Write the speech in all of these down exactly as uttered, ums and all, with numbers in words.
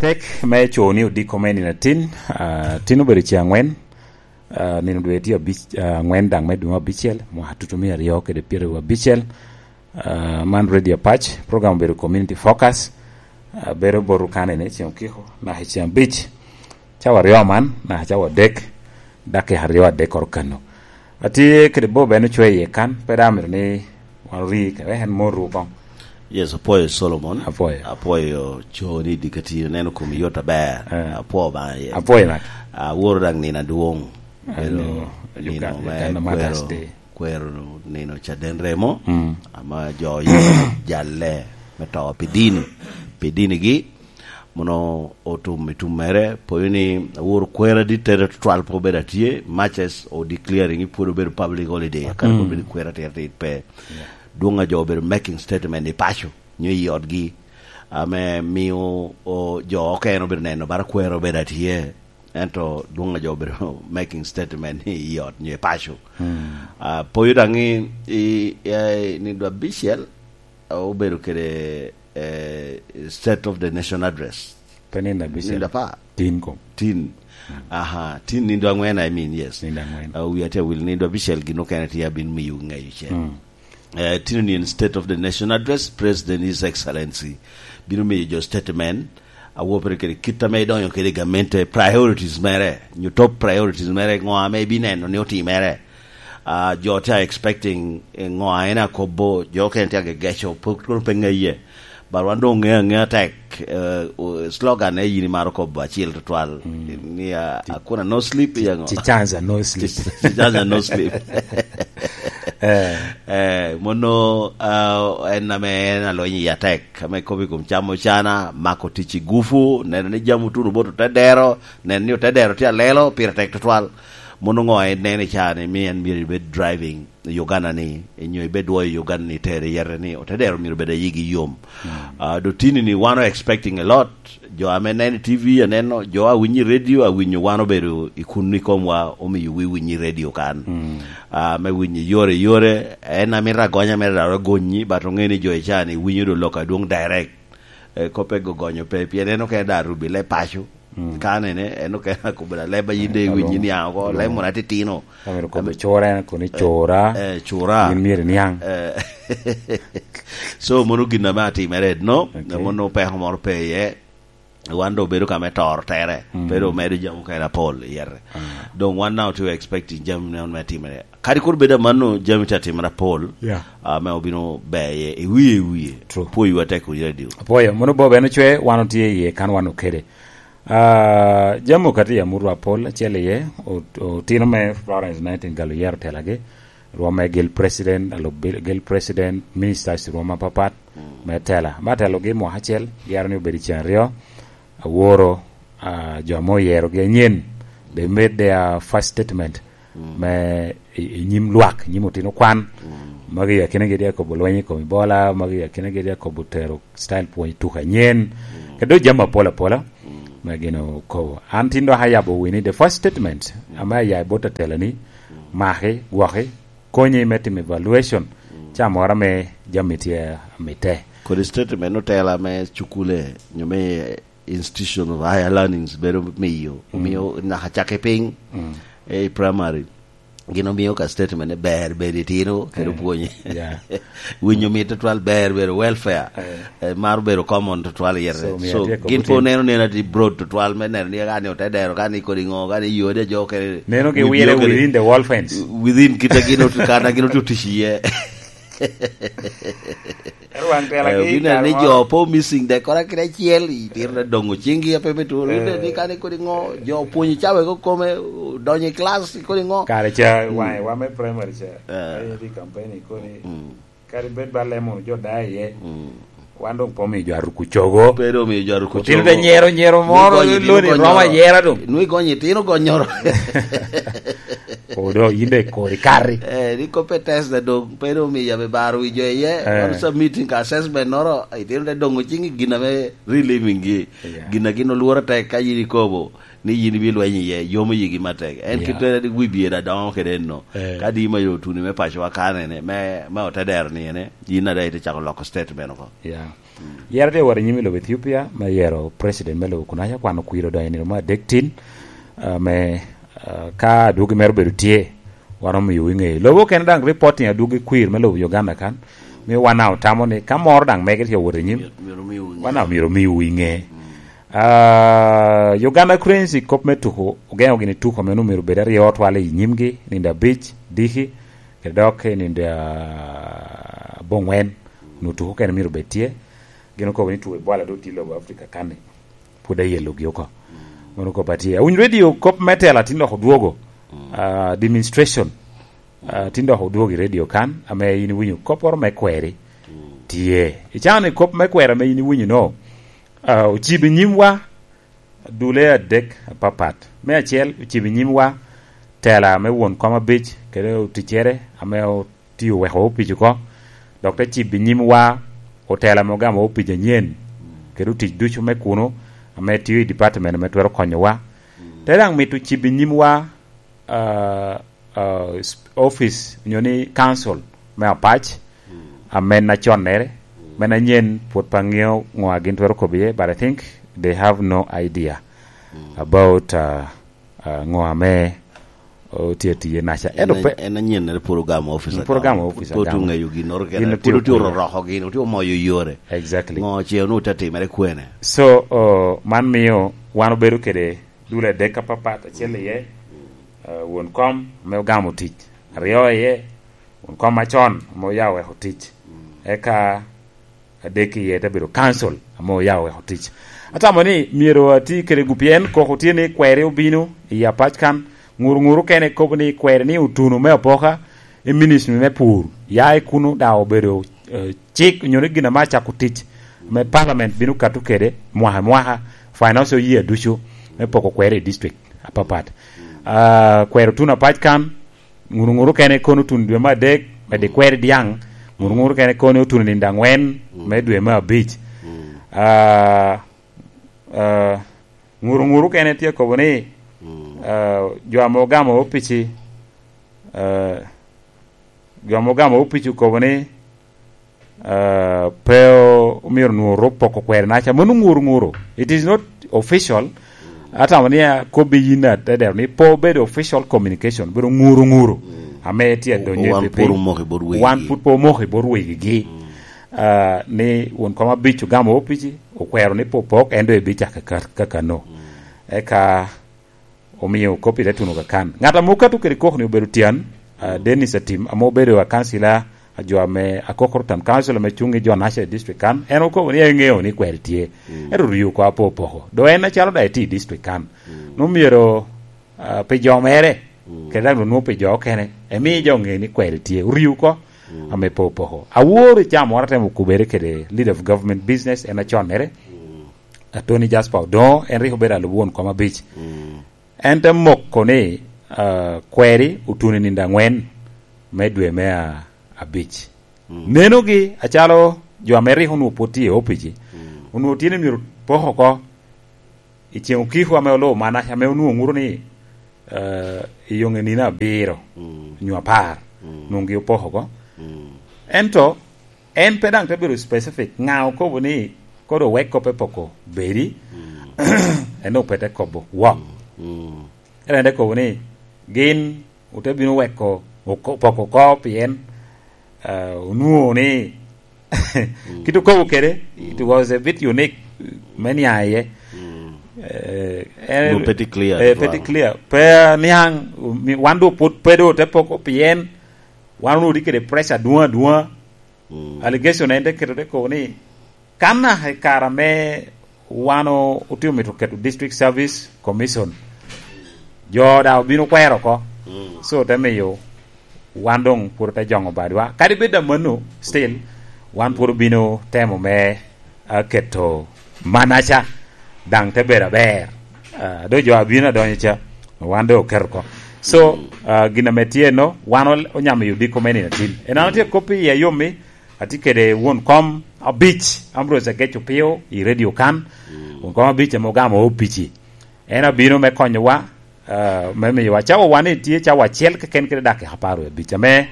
Tek me co ni odiko me nino atin, ah, tin obedo ce angwen, ah, nino dwe tye abic-, ah, angwen daŋ me dwe me abicel, mwaka tutumia aryo kede pyeraryo abicel. Ah, man Radio Apac, program obedo Community Focus, ah, bedo bot okane ni ceng okiko, naka i ceng abic, cawa aryo man, naka cawa adek, dakika aryo adek oro kano. Atye kede Bob en ocwe iye kan, pe daŋ amito ni wan ori kede en mot ru kong. Yes, apwoyo Solomon. Apwoyo. Apwoyo coni i dikati, neno kom yot aber. Eh. Apwoyo Obaŋa iye. Apwoyo mak. Aworo daŋ nino adwoŋ. Ah, Pero nino, nino Uganda, me Uganda Martyrs kwero, Day. Kwero nino caden remo. Mm. Ama jo oye jalle me to pi dini. Pi dinigi. Mono otum i tum mere, poyo ni aworo kwero adit tere tutwal pe obedo atye, much as o declaring i pwod obedo public holiday, kare Mm. pwod obedo kwero atir atir pe. Yeah. Dwong a jo obedo making statement i paco, nyo i otgi, ame mio o, jo okene obedo neno bara kwero obedo atye, ento dwong a jo obedo making statement i ot nyo i paco. Mm. Ah, poyo daŋ i, i, i, ni dwa bicel, obedo kede, eh, State of the Nation Address. Pe nino abicel. Nino apar. Tin kom. Tin. Aha, tin nino angwen, I mean, yes. Nino angwen. Ah, wi atye awil nino abicel gin okene tye abin miyo ŋeyo cen. Mm. Eh, tino ni en State of the Nation Address, President His Excellency bino miyo jo statement, awopere kede kit ame idonyo kede i gamente, priorities mere, nyo top priorities mere, ŋo ame ibineno ni otimere. Ah, jo tye expecting, eh, ŋo a en akobo, jo okene tye agegeco, pe, kono pe ŋeye. But wan doŋ ŋeo aŋea tek, eh, o-, slogan ne yin imaro kobo acel tutwal. Mm. Ni, ah, "Akuna no sleep," iya ŋo? Chichanja no sleep. Chichanja no sleep. Eh. Eh, mono, ah, en ame en alony i atek, ame kobo i kom camo cana, mako tic i gufu, neno ni jami otuno bot otedero, neno ni otedero tye alelo, pire tek tutwal. Mono ŋo en neno i caa ni, mi en myero ibed driving i Uganda ni, nyo ibed dwoyo Uganda ni tere yete ni, otedero myero bed ayigi yom. Mm. Ah, dotini ni wan o expecting a lot. Jo ame neno i T V aneno, jo a winyo i radio awinyo wan obedo i kun i komwa, omio wi winyo i radio kan. Mm. Ah, me winyo yore yore, en amito agonya mere daro gonyi, but oŋe ni jo i caa ni winyo do lok adwoŋ direct. Eh, kope gogonyo pe, pien en okene da rubi le paco. Mm. Ka nene, en okene akobo da leb a yin de iwinyi niaŋ oko, leb moro atitino. Amito kobo cura, en kono i cura. Eh, cura. Yin myero iniaŋ. Eh. So, mono gin ame atimere, no? Okay. Mono peko moro pe iye. Wan do obedo ka me toro tere. Mm. Pe do omedo jami okene apol i yete. Ah. Doŋ wan now tye expecting jami ne me timere. Kadi kur bedo amanno, jami tye atimere apol, yeah, ame obino ber iye, i wie, i wie. True. Pwoyiwa tek i radio. Apwoyo, mono Bob en ocwe, wan otye iye kan wan okede. Ah, jami okati i amutwa apol, acel iye, o-, otino me Florence Nightingale oyero telagi, rwom me gil president, alub bil-, gil president, ministers rwom apapat, mm, me tela. Me telogi mwaka acel, yero ni obed i cen aryo, aworo, ah, jo ame oyerogi anyen, they made their first statement, mm, me i, i nyim lwak, i nyim otino kwan. Mm. Magi akinagi tye akobo lweny i kom Ebola, magi akinagi tye akobo tero style pwony tuko anyen. Mm. Kede jami apol apola, mm, me gin okobo. An tin dok ayabo wini the first statement, mm, ame aya i bot atela ni, mm, maki, gwoki, konyi me timo evaluation, mm, ca moro ame jami tye amite. Kodi statement otela me cukule, nyo me institution of higher learnings bedo miyo, mm, omiyo naka cakki piny, mm, eh, i primary, gin omiyo ka statement ni ber bedo itino, kede, eh, pwonye. Yeah. Winyo mit tutwal, ber bedo welfare. Eh. Eh, mar bedo common tutwal yete. So, omiyo so, atye gin kobo pe tin oneno neno ati broad tutwal me neno ni ka ni ote dero, ka ni kodi ŋo, ka ni yode jo ke neno gi wire within the wall fence. Within kita gin ot-, kana gin otye otic iye. Ero wang tela. Eh, ki obino neno ni kare jo moro po missing de kora kit acel, itiro de dongo cingi ape me turo. Eh. Ine ni kane kodi ŋo, jo pwonyo cawa ko kome, donyo i class kodi ŋo. Kare ca, mm, wange wa me primary ca. Eh. Aye di campaign kodi. Mm. Kadi bed ba lemo jo da iye. Mm. Wan dong po miyo jo aruku cogo. Pe dong miyo jo aruku cogo. Otino te nyero, nyero moro, nwi gonyi itino loni gonyoro. Roma yera dong. Nwi gonyi itino gonyoro. Odo, yin dong ikori kari. Eh, ni kope test da dong, pe dong omiyo yabe baro wi jo iye. Eh. Wan submitting ka assessment noro, itino te dongo cingi gin ame reliving gi. Yeah. Gin a gin olworo tek ka yin ikobo ni yin ibi lweny iye, yomo yigi matek. En, yeah, kit en wi biye da dongo kede enno. Eh. Ka di ma yo tuni me paco wa kanene, me, me ote dero ni ene, yin ada ite cako loko statement oko. Yeah. Yero tye wot i nyim i lobo Ethiopia me yero president me lobo kunaca, kwan okwiro odonyo i nino me adek tin, ah, me, ah, ka adwogi mere obedo tye, wan omio iŋe. Lobo okene daŋ reporting adwogi kwir me lobo Uganda kan, mi wan daŋ otamo ni ka moro daŋ mege tye wot i nyim, wan daŋ myero omiwu iŋe. Ah, Uganda Cranes i kop me tuko, ogeno gini tuko ame onwoŋo myero obed aryo twal i nyimgi, nino abic, diki, kede dok i nino, ah, aboŋwen, onwoŋo tuko okene myero obed tye. Gin okobo ni tuko i bwala doŋ tye i lobo Africa kan-ni. Pwod ayelogi oko. Mano kop atye. Awinyo radio kop me tela tin dok odwogo. Ah, demonstration. Ah, tin dok odwogo i radio kan, ame in iwinyo kopporo me kweri. Tye. Icano ni kop me kweri ame in iwinyo no, ah, ocibo i nyimwa dule adek apapat. Me acel, ocibo i nyimwa tela me won kom abic, kede oticcere ame otio weko opic oko, dok te cibo i nyimwa otela ame ogamo opic anyen, kede otic ducu me kuno, ame tio i department ame twero konyowa. Te daŋ mito cibo i nyimwa, ah, ah, s-, office, onyo ni council me apac, ame na connere, me na nyen pwod pe aŋeo ŋo a gin twero kobo iye, but I think they have no idea about, ah, ah, ŋo ame otye atiye naca. Ento pe en anyennere pwod ogamo office, pwod ogamo office, pwod oŋeyo ginnoro kene, pwod otye ororoko gin, otye omoyo yore. Exactly. Ŋo ce onwoŋo te timere kwene? So, oh, man mio wan obedo kede dul adek apapat, acel iye, ah, won kom ame ogamo tic, aryo iye, won kom macon ame oya oweko tic, eka adek iye te bedo council ame oya oweko tic. Atamo ni myero ati kede gu, pien koko tye ni kweri obino i apac kan, ŋuru ŋuru kene kobo ni kweri ni otuno me apoka i ministry me pur, ya i kuno daŋ obedo, eh, cik, onyo ni gin ame acako tic, me parliament bino kato kede mwaka i mwaka, financial year ducu, me poko kweri i district apapat. Ah, kweri otuno apac kan, ŋuru ŋuru kene kono otuno dwe me adek, me di kweri diaŋ, ŋuru ŋuru kene kono otuno nino aŋwen, me dwe me abic. Ah, ah, ŋuru ŋuru kene tye kobo ni, ah, jo ame ogamo opici, ah, jo ame ogamo opici okobo ni, ah, pe o-, omyero onwoŋo rop poko kweri naca. Mano ŋuru ŋuru. It is not official. Atamo ni akobbi yin atedero ni pe obedo official communication, obedo ŋuru ŋuru. Ame tye adonyo i wan piny. Wan pwod omoko i bot wegi. Ah, ni won kom abic ogamo opici, okwero ni pe opok, en doŋ ebicak ka, ka, kakano. Eka omio kop i te tuno kakan. Ŋat ame okato kede kok-ni obedo tyen, ah, Dennis Atim, ame obedo akancila a jo ame Akokoro Town Council ame cuŋ i jo naca i district kan. En okobo ni eŋeo ni kweri tye. Ento rio oko apo opoko. Do en acalo daŋ etye i district kan. Nwoŋo myero, ah, pi jo mere, kede daŋ onwoŋo pi jo okene, emi jo ŋe ni kweri tye. Orio oko ame pe opoko. Awor i caa moro atemo kubere kede leader of government business, en aconnere. Attorney Jasper Odongo, en rik obedo alub won kom abic. En te moko ni, ah, kweri otuno i nino aŋwen me dwe me a-, abic. Nenogi acalo jo ame rik onwoŋo pwod tye i opici, onwoŋo tye ni myero pok oko i ceŋ okiko ame olubo man, ame onwoŋo ŋuto ni, ah, i yoŋe nino abiro, nyo apar, nwoŋo gi opoko oko. Ento en pe daŋ te bedo specific, ŋa okobo ni kodi owek kop pe poko bedi, en doŋ pe te kobo wok. Ento en te kobo ni gin ote bino weko oko-, poko oko pien, ah, onwoŋo ni kit okobo kede, it was a bit unique me niaŋ iye. Eh, en, no, petty clear, eh, petty clear. Pe niaŋ, mi-, wan doŋ pwod pe doŋ ote poko pien wan onwoŋo tye kede pressure adwoŋ adwoŋa. Allegation en te keto te kobo ni, kan naka i kare ame wan o-, otye omito keto District Service Commission, jo daŋ obino kwero oko. So, te miyo wan doŋ pwod ote joŋo badwa. Kadi bed amanno, still, wan pwod obino temo me, ah, keto manaca, daŋ te bedo aber. Ah, do jo abino adonyo ca, wan doŋ oketo oko. So, ah, gin ame tye no, wan ol-, onyamo i odiko me nino atin. En an atye kop i ayom-mi, atye kede won kom abic, Ambrose Agec Opio, i radio kan. Won kom abic ame ogamo opici. En abino me konyowa, ah, me miyowa cawa wan ni tye cawa acel keken kede dakika apar wie abic, ame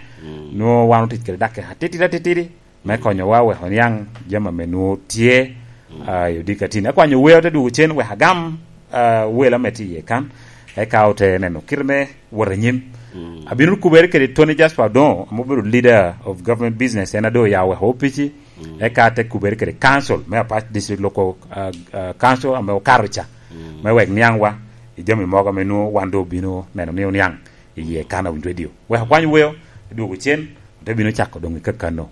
nwoŋo wan otic kede dakika atitidi atitidi. me konyowa wek oniaŋ jami ame nwoŋo tye, ah, i odiko atin. Akwanyo wer ote dwogo cen wek agam, ah, wel ame tye iye kan, eka ote neno kite me wot anyim. Abino kubere kede Tony Jasper Odongo, ame obedo leader of government business, en a doŋ oyao weko opici, eka ate kubere kede council me Apac District Local, ah, ah, Council ame okato ca, me wek niaŋwa i jami mogo ame nwoŋo wan doŋ obino neno ni oniaŋ i iye kan a Wind Radio. Wek akwany weo, adwogo cen, ote bino cako doŋ i kakano.